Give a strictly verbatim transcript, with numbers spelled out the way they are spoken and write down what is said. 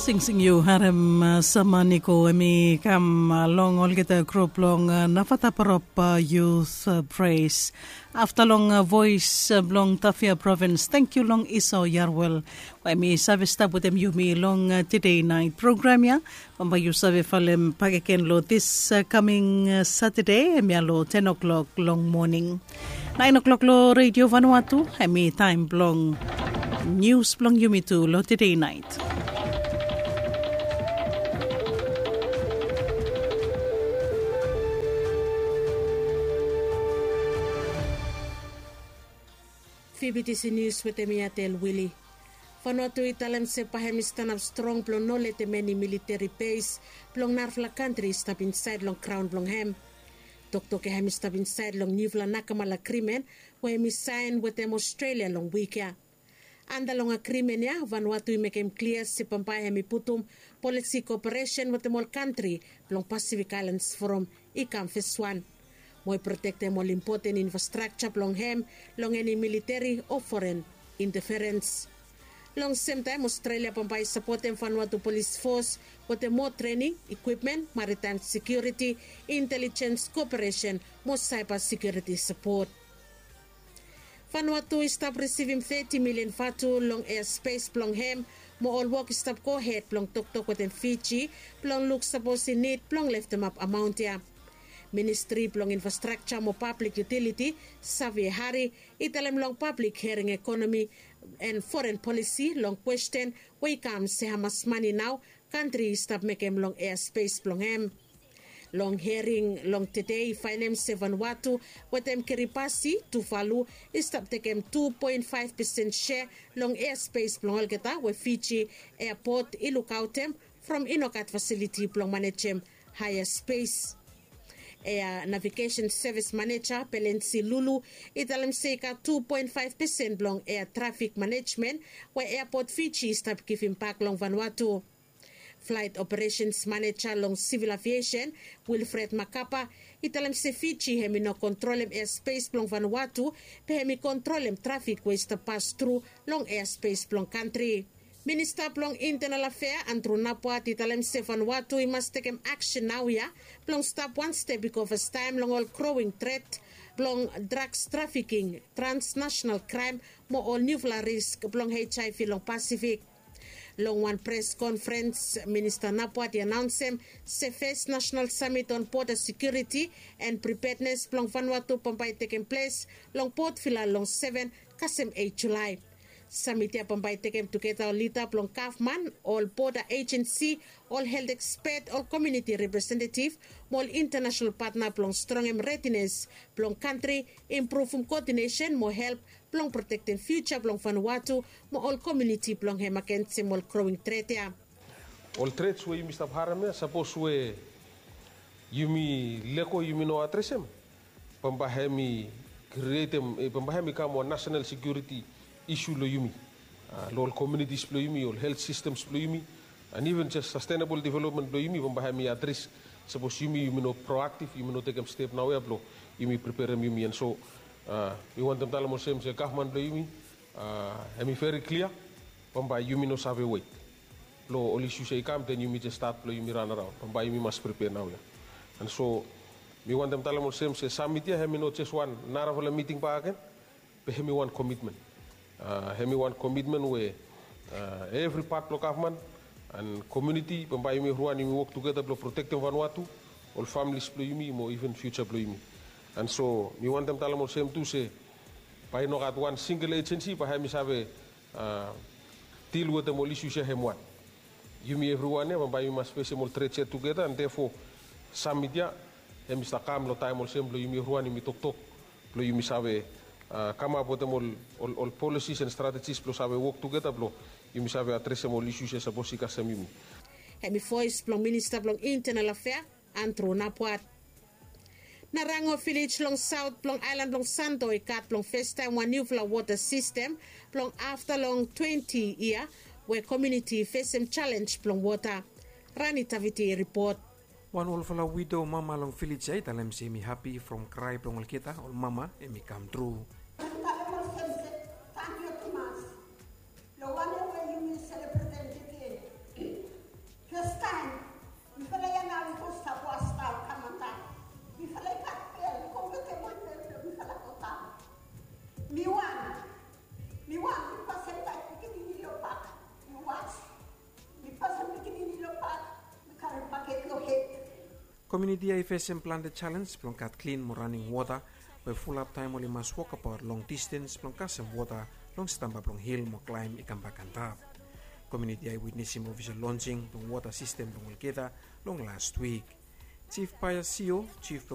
Singsing yu harem, uh, Samaniko, em i kam, uh, long olgeta grup long, uh, Navataparop, uh, Youth, uh, Praise. Afta long, uh, voes, uh, blong Tafea Provins, tangkiu long Isao Yarwel we em i save stap wetem yumi long, uh, Today Night program ya. Bambae yu save folem bakegen long this, uh, coming, uh, Saturday, em ya long ten o'clock long moning. Nine o'clock long Radio Vanuatu, em i taem blong nius blong yumi tu long Today Night. Fibitisi nius wetem mi Atel Wili. Vanuatu i talem se bae hem i stanap strong blong no letem eni militeri bes blong narafala kantri i stap insaed long graon blong hem. Toktok ya hem i stap insaed long niufala Nakamala Agrimen we hem i saen wetem Australia long wik ya. Anda long agrimen ya, Vanuatu i mekem klia se bambae hem i putum polisi koperesen wetem ol kantri blong Pasifik Aelans Foram i kam feswan. Mo i protektem ol impoten infrastrakja blong hem long eni militeri o foren inteferens. Long semtaem, Australia bambae i sapotem Vanuatu Polis Fos wetem moa trening, ikwipmen, maritaem sekiuriti, intelijens koperesen mo saeba sekiuriti sapot. Vanuatu i stap risivim teti milian vatu long easpes blong hem, mo ol wok i stap gohed blong toktok wetem Fiji blong luk sapos i nid blong leftemap amaon ya. Ministri blong Infrastrakja mo Pablik Yutiliti, Xavier Hari, i talem long pablik hearing ekonomi and foren polisi long kwesten we i kam se hamas mane nao kantri i stap mekem long easpes blong hem. Long hearing long tede i faenem se Vanuatu wetem Kiribati, Tuvalu, i stap tekem tu poen faef pesen sea long easpes blong olgeta we Fiji eapot i lukaotem from i no gat fasiliti blong manejem haea spes. Ea Navigesen Sevis Maneja Pelensi Lulu i talem se i gat tu poen faef pesen blong ea trafik manejmen we eapot Fiji i stap givim bak long Vanuatu. Flaet Operesens Maneja long Sivil Aviesen, Wilfred Makapa, i talem se Fiji hem i no kontrolem easpes blong Vanuatu, be hem i kontrolem trafik we i stap pas tru long easpes blong kantri. Minista blong Intenal Afea, Andrew Napuat, i talem se Vanuatu i mas tekem aksen naoia blong stap wan step i go fastaem long ol growing tret blong drugs trafiking, transnational kraem mo ol niufala risk blong HIV long Pasifik. Long wan pres konferens, Minista Napuat i anaonsem se fes nasenal samit on boda sekiuriti and pripednes blong Vanuatu bambae i tekem ples long Port Vila long seven kasem eit Julae. Samit ya bambae i tekem tugeta ol lida blong gavman, ol boda ejensi, ol helt ekspet, ol komuniti representetiv mo ol intanasenal patna blong strongem redines blong kantri, impruvum koodinesen mo help blong protektem fiuja blong Vanuatu mo ol komuniti blong hem agensem ol growing tret ya. Ol trets we yumi stap harem ya, sapos we yumi lego, yumi no adresem, bambae hem i krietem, bambae hem i kam wan nasenal sekiuriti isu long yumi, long ol komunitis blong yumi, ol helt sistems blong yumi, and even jes sastenabol developmen blong yumi, bambae hem i adres sapos yumi yumi no proaktiv, yumi no tekem step naoia blong yumi preperem yumi. And so mi wantem talem olsem se gavman blong yumi hem i veri klia, bambae yumi no save wet long ol isus ya i kam, den yumi jes stat blong yumi ran araon. Bambae yumi mas prepea naoia. And so mi wantem talem olsem se samit ya hem i no jes wan narafala miting bakegen, be hem i wan komitmen. Hem i wan komitmen we evri pat blong gavman and komuniti, bambae yumi evriwan yumi wok tugeta blong protektem Vanuatu, ol familis blong yumi mo even fiuja blong yumi. And so mi wantem talem olsem tu se bae i no gat wan singel ejensi bae hem i save dil wetem ol isus ya hem wan. Yumi evriwan ya bambae yumi mas fesem ol trets ya tugeta, and therefore samit ya hem i stap kam long taem olsem blong yumi evriwan yumi toktok blong yumi save kamap wetem ol, ol, ol polisis and stratejis blong save wok tugeta blong yumi save adresem ol isus ya sapos i kasem yumi. Hem i voes blong Minista blong Intenal Afea, Andrew Napuat. Narango vilej long saot blong aelan blong Santo i gat blong festaem wan niufala wota sistem blong afta long twenti yia we komuniti i fesem jalenj blong wota. Rani Taviti i ripot. Wan olfala wido mama long vilej ya i talem se hem i hapi from krae blong olgeta ol mama hem i kam tru. Talem olsem se, tangkiu tumas long wanem we yumi selebretem tede. Komiuniti ya i fesem plante selens blong gat klin mo raning wota, we fulap taem oli mas wokabaot long distens blong kasem wota long stamba blong hil mo klaem i kambak antap. Komiuniti ya i witnesem ofisel lonsing blong wota sistem blong olgeta long last wik. Jif paia sio, jif